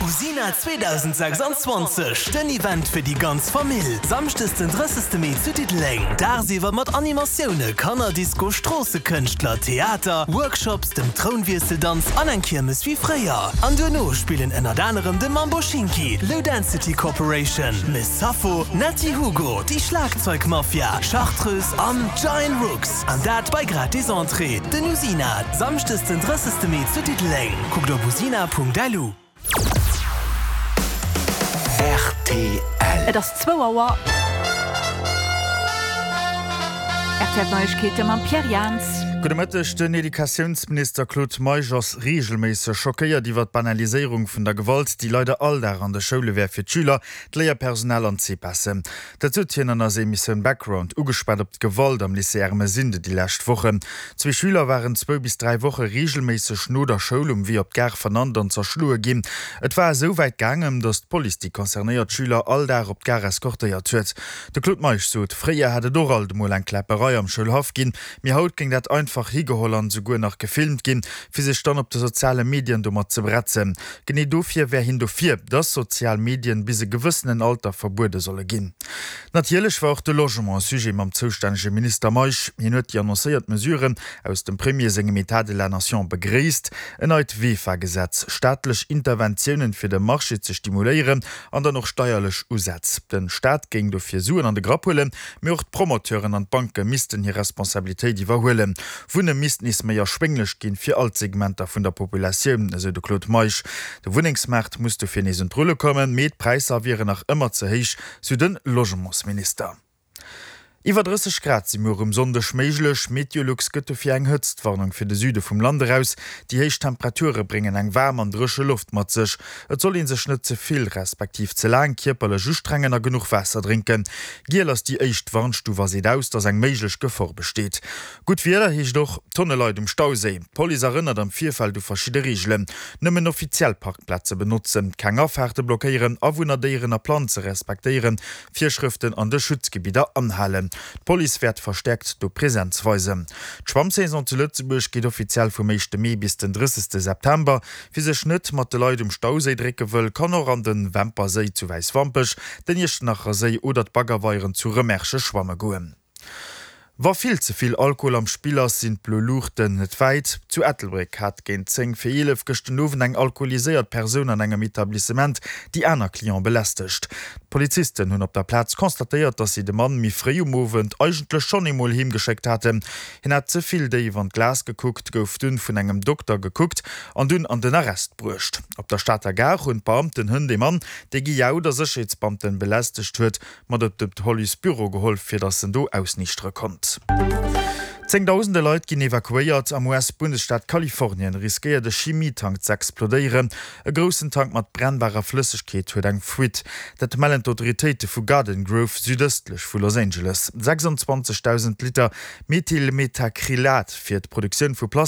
Usina 2026, den Event fir déi ganz Famill, Samschdes den 30 Mee zu Diddeleng. Dagsiwwer mat Animatioune, Kannerdisco, Stroossekënschtler, Theater, Workshops, dem Trounwiesseldanz an eng Kiermes wéi fréier. An duerno spillen ënnert anerem de Mambo Schinki, Low Density Corporation, Miss Sappho, Netty Hugo, déi Schlagzeugmafia, Chartreuse an Giant Rooks. An dat bei gratis Entrée. Den Usina, Samschdes den 30 Mee zu Diddeleng. Kuckt op usina.lu. Rtl. Et ass zwou Auer. Rtl Neiegkeete mam Pierre Jans. Gudde Mëtteg. Den Educatiounsminister Claude Meisch ass reegelméisseg schockéiert iwwer d'Banaliséierung vun der Gewalt, déi leider all Dag an de Schoule wär fir d'Schüler, d'Léierpersonal an d'CPASen. Dat sot hien an eiser Emissioun Background, ugeschwat op d'Gewalt am Lycée Ermesinde déi lescht Wochen. Zwee Schüler waren zwou bis 3 Woche reegelméisseg no der Schoul um Wee op d'Gare vernannt an zerschloe ginn. Et war esou wäit gaangen, datt d'Police déi concernéiert Schüler all Dag op d'Gare eskortéiert huet. De Claude Meisch sot, fréier hätt et och alt emol eng Kläpperei am Schoulhaff ginn, mee haut géing dat einfach higeholl an esouguer nach gefilmt ginn, fir sech dann op de soziale Medien domat ze bretzen. Genee dofir wär hien dofir, dass sozial Medien bis e gewëssenen Alter verbuede solle ginn. Natierlech war och de Logement e Sujet mam zoustännege Minister Meisch. Hien huet déi annoncéiert Mesuren aus dem Premier sengem État de la Nation begréisst, en neit VEFA-Gesetz, staatlech Interventiounen fir de Marché ze stimuléieren an dann och steierlech Usätz. De Staat géing dofir Suen an de Grapp huelen, mee och d'Promoteuren an d'Banke missten hir Responsabilitéit iwwerhuelen. Wunne misst nees méi erschwénglech ginn, fir all d'Segmenter vun der Populatioun, esou de Claude Meisch. De Wunnengsmaart muss dofir nees un d'Rulle kommen, mee d'Präisser wieren nach ëmmer ze héich, sou de Logementsminister. Iwwer 30 Grad si muer um Sonndeg méiglech. Meteolux gëtt dofir eng Hëtztwarnung fir de Süde vum Land eraus. Déi héich Temperature bréngen eng waarm an dréche Loft mat sech. Et soll ee sech net ze vill, respektiv ze laang kierperlech ustrengen a genuch Waasser drénken. Giel ass déi éischt Warnstuf a seet aus, dass eng méiglech Gefor besteet. Gutt Wieder heescht och Tonne Leit um Stauséi. D'Police erënnert am Virfeld u verschidde Reegelen, Nëmmen offiziell Parkplaze benotzen, keng Afaarte blockéieren, Awunner, Déieren a Planze respektéieren, Virschrëften an de Schutzgebidder anhalen. D'Police wäert verstäerkt do Presenz weisen. D'Schwammsaison zu Lëtzebuerg geet offiziell vum éischte Mee bis den 30 September. Wie sech net mat de Leit um Stauséi drécke wëll, kann och an den Wemperséi zu Wäiswampech, den Iechternacher Séi oder d'Baggerweieren zu Rëmerschen schwamme goen. Wa vill ze vill Alkohol am Spill ass, sinn d'blo Luuchten net wäit. Zu Ettelbréck hat géint 10 vir 11 gëscht den Owend eng alkoholiséiert Persoun an engem Etablissement déi aner Cliente belästegt. D'Polizisten hunn op der Plaz constatéiert, dass si de Mann méi fréi um Owend eigentlech schonn eemol heem geschéckt haten. Hien hat ze vill déif an d'Glas gekuckt, gouf dunn vun engem Dokter gekuckt an dunn an den Arrest bruecht. Op der Stater Gare hunn d'Beamten hënt ee Mann, dee gejaut a Sécherheetsbeamten belästegt huet, mat op de Policebüro geholl, fir datt en do ausniichtere konnt. Zéngdausende Leit ginn evakuéiert. Am US-Bundesstaat Kalifornien riskéiert e Chimietank ze explodéieren. E groussen Tank mat brennbarer Flëssegkeet huet eng Fuite. Dat mellen d'Autoritéite vu Garden Grove, südëstlech vu Los Angeles. 26.000 Liter Methylmethacrylat fir d'Produktioun vu Plastik.